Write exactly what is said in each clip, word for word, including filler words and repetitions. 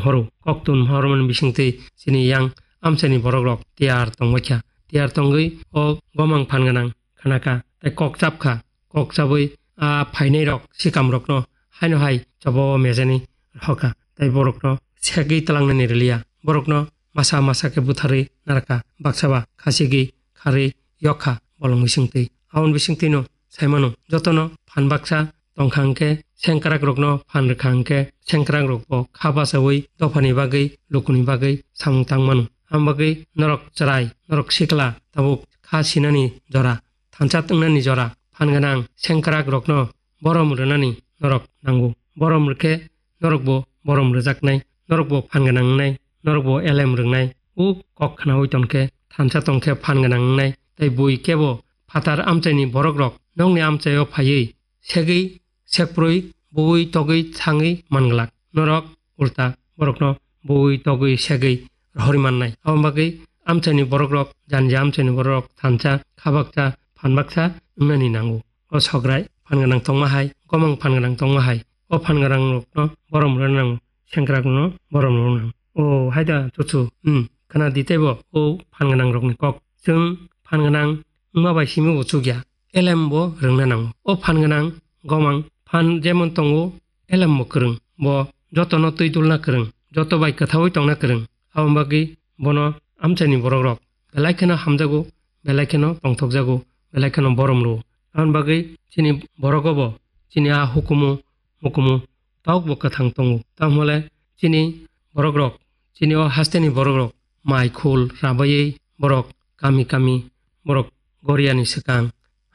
horo. Koktun hormani bisingtwi chini yang amchaini borokrok tiyar tongbaikha. Tiyar tongwi o gomang phan gwnang khnakha tei kok chapkha. Kok chabwi a phainairok sikamrokno haino hai chobo mejani rwkha tei borokno segwi tlangnani rwliya. Borokno masa masa khe butharwi narwkha, baksa ba khachigwi kharwi yokkha bolong bisingtwi. Aboni bisingtwino saimano jotono phan baksa tongkha hwnkhe sengkrakrokno phan rwkha hwnkhe sengkrakrokbo kha bachaui dophani bagwi lukuni bagwi samung tangmano. Aboni bagwi norok chwrai, norok sikla tabuk kha sinani jora, thansa tongnani jora, phan gwnang sengkrakrokno borom rwnani norok nango. Borom rwkhe norokbo borom rwjaknai, norokbo phan gwnang wngnai, norokbo elem rwngnai. O kok khnaui tongkhe, thansa tongkhe phan gwnang wngnai. Tei bui kebo phatar amchaini borokrok nokni amchaio phaiwi segwi, sekprwi, bui togwi thangwi manglak. Norok ulta borokno bui togwi segwi rohorwi mannai. Aboni bagwi amchaini borokrok, jani je amchaini borokrok thansa, khabaksa, phanbaksa wngnani nango. O sograi phan gwnang tongma hai, gomang phan gwnang tongma hai. O phan gwnangrokno borom rwna nango, sengkrakrokno borom rwna nango. O haida chuchu, hmm, khna di teibo o phan gwnangrokni kok. Chwng phan gwnang wngma bai simi bo chukya, elem bo rwngna nango. O phan gwnang gomang phan jemon tongo, elem bo kwrwng, bo jotono twi dulna kwrwng, joto bai kwthaui tongna kwrwng. Aboni bagwi bono amchaini borokrok belai kheno hamjago, belai kheno tongthokjago, belai kheno borom rwo. Aboni bagwi chini borogo bo chini a hukumu mukumu tabukbo kwthang tongo. Tamo le chini borokrok, chini o hasteni borokrok mai khul rabaiwi borok kami kami borok goriani swkang,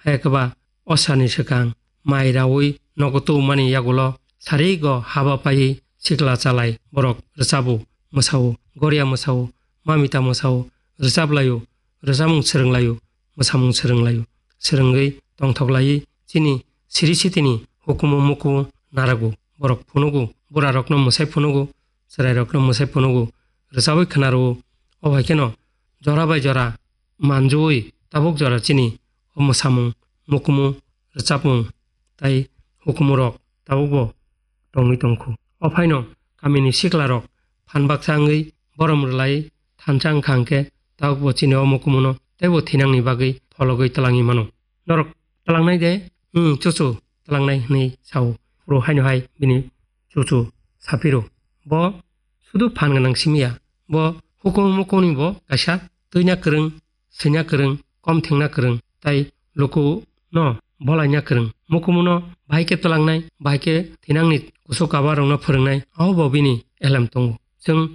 hai khe ba osani swkang mai raui nogo tubumani yagulo sarigo haba paiwi sikla chalai borok rwchabo, mwsao, goria mwsao, mamita mwsao, rwchap laio, rwchapmung swrwng laio, mwsamung swrwng laio. Swrwngwi tongthok laiwi chini siri sitini hukumu mukumu narago. Borok phunugo, burarokno mwsai phunugo, chwrairokno mwsai phunugo, rwchabwi khwnaro. O hai kheno jora bai jora manjui tabuk jora chini o mwsamung, mukumu, rwchapmung tai hukumurok tabukbo tongwi tongkhu. O phaino kamini siklarok phan baksa wngwi borom rwlai thansa wngkha hwnkhe tabukbo chini o mukumuno teibo thinangni bagwi phologwi twlangwi mano. Norok twlangnai de? Hmm, chuchu, twlangnai, hwnwi sao. Phuru haino hai bini chuchu saphiro. Bo sudu phan gwnang simi ya. Bo hukumu mukumuni bo kaisa twina kwrwng, swina kwrwng, kom thengna kwrwng, tai luku no bolaina kwrwng. Mukumuno bahai khe twlangnai, bahai khe thinangni kusu kabarokno phwrwngnai, abo bo bini elem tongo. Chwng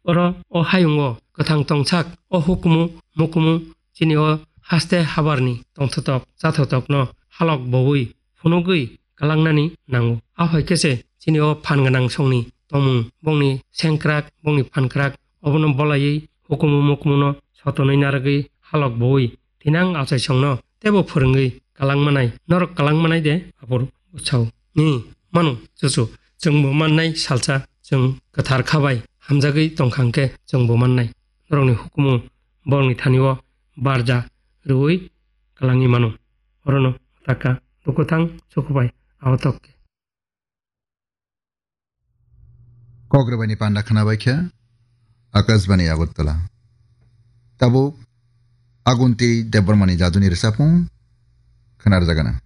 oro o hayungo kwthang tongsak, o hukumu mukumu chini o haste habarni tongthotok chathotokno halok boui phunugwi kalangnani nango. Aphai khe se chini o phan gwnang songni tongmung, bongni sengkrak, bongni phankrak, obono bolaiwi hukumu mukumuno sotonwi narwgwi halok boui thinang achaisongno teibo phwrwngwi kalangmanai, norok kalangmanai de aphuru bwsao. Ni mano chuchu, chwngbo mannai salsa, chwng kwthar kha bai hamjagwi tongkha hwnkhe chwngbo mannai. Norokni hukumu borokni thani-o barja rwui kalangwi mano. Orono taka lukuthang sukubai ahotok khe. Kok rwbaini panda khwnabaikha Akashbani Agartala. Tabuk Agunti Debbarmani jaduni rwchapmung khwnarjagana.